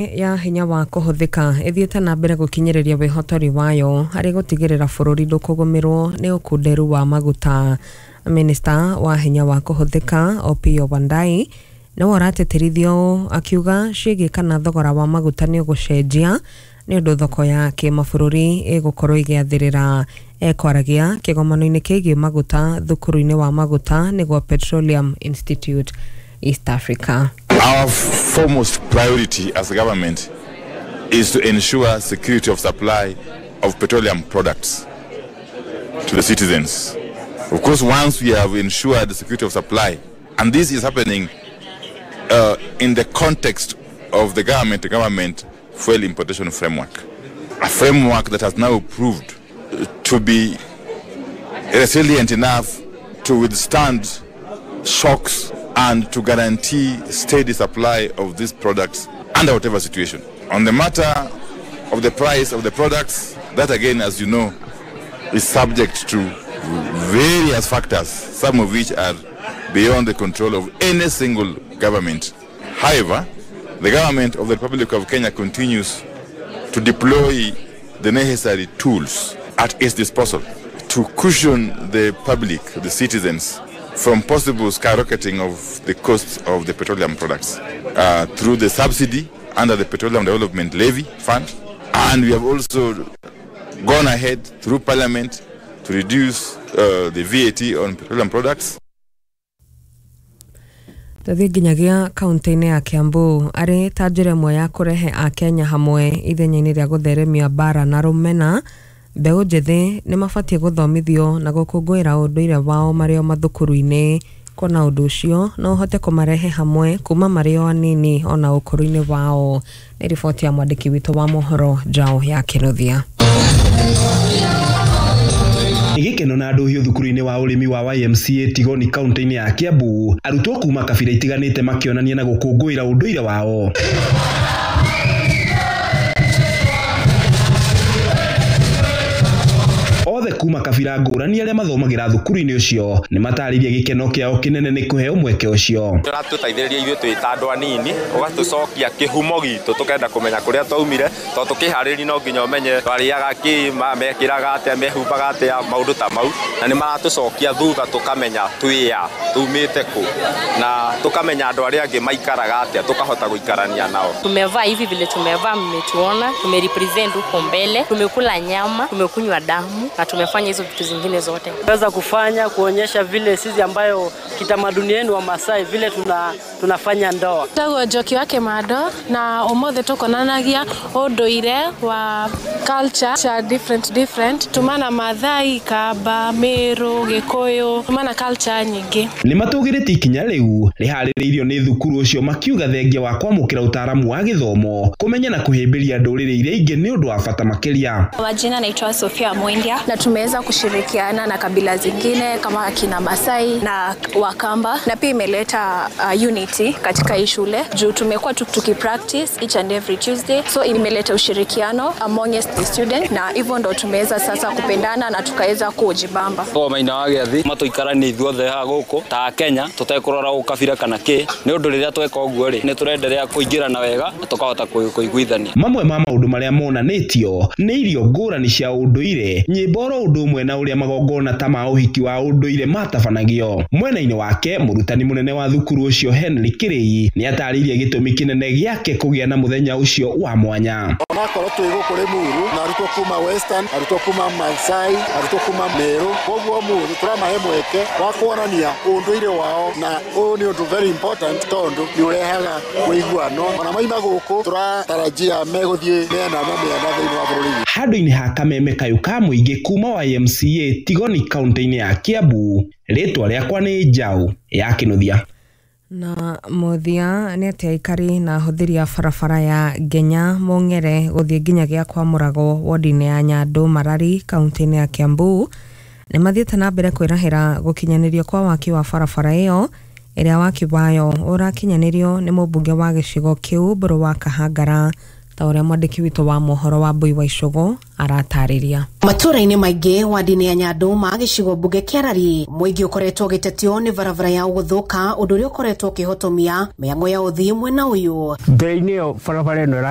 Ya hinya wa kũhũthĩka ĩthiĩte na mbere gũkinyĩrĩria wĩhotori wayo harĩ gũtigĩrĩra bũrũri ndũkũgũmĩrwo nĩ ũkunderu wa maguta. Minista wa hinya wa kũhũthĩka Opiyo Wandayi nĩwe ũratĩtĩrithia ũũ akiuga ciĩgiĩ kana thogora wa maguta nĩ ũgũcenjia nĩ ũndũ thoko ya kĩmabũrũri ĩgũkorwo ĩgĩathĩrĩra. Ekwaragia kĩgomano-inĩ kĩgiĩ maguta thukuru-inĩ wa maguta nĩguo Petroleum Institute East Africa. Our foremost priority as a government is to ensure security of supply of petroleum products to the citizens. Of course, once we have ensured the security of supply, and this is happening in the context of the government-to-government fuel importation framework, a framework that has now proved to be resilient enough to withstand shocks and to guarantee steady supply of these products under whatever situation. On the matter of the price of the products, that again, as you know, is subject to various factors, some of which are beyond the control of any single government. However, the government of the Republic of Kenya continues to deploy the necessary tools at its disposal to cushion the public, the citizens, from possible skyrocketing of the costs of the petroleum products through the subsidy under the Petroleum Development Levy Fund. And we have also gone ahead through Parliament to reduce the VAT on petroleum products. Tũthiĩ nginyagia kaunti-inĩ ya Kiambu arĩ ta njĩra ĩmwe ya kũrehe Akenya hamwe ithenya-inĩ rĩa gũtheremia mbara na rũmena. Mbeũ njĩthĩ nĩ mabatiĩ gũthomithio na gũkũngũĩra ũndũire wao marĩ o mathukuru-inĩ, kuona ũndũ ũcio no ũhote kũmarehe hamwe kuma marĩ o anini ona ũkũrũ-inĩ wao. Nĩ riboti ya mwandĩki witũ wa mohoro Njaũ ya Kĩnuthia. Gĩkeno na ndũhiũ thukuru-inĩ wa ũrĩmi wa YMCA Tigoni kaunti-inĩ ya Kiambu, arutwo kuma kabira itiganĩte makĩonania na gũkũngũĩra ũndũire wao. Othe kuma kabira ngũrani arĩa mathomagĩra thukuru-inĩ ũcio nĩ matarĩirie gĩkeno kĩao kĩnene nĩ kũheo mweke ũcio. Ũratũteithĩrĩria ithuĩ twĩ ta andũ anini, ũgatũcokia kĩhumo gitũ tũkenda kũmenya kũrĩa twaumire, tondũ tũkĩharĩria no nginya ũmenye twarĩaga kĩ, mekĩraga atĩa, mehumbaga atĩa, maũndũ ta mau, na nĩ maratũcokia thutha tũkamenya twĩ a, tumĩte kũ, na tũkamenya andũ arĩa angĩ maikaraga atĩa, tũkahota gũikarania nao. Tumevaa hivi vile tumevaa, mmetuona, tumerepresent huko mbele, tumekula nyama, tumekunywa damu na tumefanya hizo vitu zingine zote. Tunaweza kufanya kuonyesha vile sisi ambayo kitamaduni yenu wa Masai vile tunafanya ndoa. Tagwo Njoki wa Kĩmando na ũmũthĩ tũkonanagia ũndũire wa culture cha different tumana Mathai, Kamba, Meru, Gĩkũyũ, tumana culture nyingĩ. Nĩ matũgĩrĩtie ikinya rĩu rĩharĩrĩirio nĩ thukuru ũcio makiuga thengia wa kwamũkĩra ũtaaramu wa gĩthomo, kũmenya na kũhĩmbĩria ndũrĩrĩ iria ingĩ nĩ ũndũ wa bata makĩria. Majina naitwa Sofia Mwendia na tumeweza kushirikiana na kabila zingine kama akina Masai na Wakamba, na pia imeleta unity katika hii shule juu tumekuwa tukipractice each and every Tuesday, so imeleta ushirikiano among the students, na hivyo ndo tumeweza sasa kupendana na tukaweza kujibamba. Kwa maina wa gĩathĩ matũikaranie ithuothe haha gũkũ ta Kenya tũtekũrora ũkabira kana kĩ, nĩ ũndũ rĩrĩa tweka ũguo rĩ nĩ tũrenderea kũingĩrana wega na tũkahota kũiguithania. Mamwe ma maũndũ marĩa monanĩtio nĩ irio ngũrani cia ũndũire, nyĩmbo oro ũndũ ũmwe na ũrĩa magongona ta ma ũhiki wa ũndũire matabanagio. Mwena-inĩ wake mũrutani mũnene wa thukuru ũcio Henry Kĩrĩi nĩ atarĩirie gĩtũmi kĩnene gĩake kũgĩa na mũthenya ũcio wa mwanya. Onakorwo twĩ gũkũ Limuru na arutwo kuma Western, arutwo kuma Maasai, arutwo kuma Meru, koguo ũmũthĩ tũramahe mweke wa kuonania ũndũire wao, na ũyũ nĩ ũndũ very important tondũ nĩ ũrehaga ũiguano. Ona maima gũkũ tũratarajia megũthiĩ mĩena na mĩena thĩinĩ wa bũrũri. Handũ-inĩ ha kameme kayũ ka mũingĩ kuma YMCA Tigoni kaunti-inĩ ya Kiambu, rĩtwa rĩakwa nĩ Njaũ ya Kĩnuthia. Na mũthia nĩ atĩ aikari na ahũthĩri a barabara ya Ngenya Mong'ere gũthiĩ nginyagia kwa Mũrago wodi-inĩ ya Nyandũ Marari kaunti-inĩ ya Kiambu nĩ mathiĩte na mbere kwĩrahĩra gũkinyanĩrio kwa waki wa barabara ĩyo ĩrĩa waki wayo ũrakinyanĩrio nĩ mũmbunge wa gĩcigo kĩu Mbũrũ wa Kahangara Ta ũrĩa mwandĩki witũ wa mohoro wa Mbui wa Icũgũ aratarĩria. Matũra-inĩ maingĩ wadi-inĩ ya Nyandũma gĩcigo mbunge kĩa Rari, mũingĩ ũkoretwo ũgĩtetio nĩ barabara ya gũthũka, ũndũ ũrĩa ũkoretwo ũkĩhotomia mĩhang'o ya ũthii mwena ũyũ. Mbere-inĩ ĩyo barabara ĩno ĩrarĩ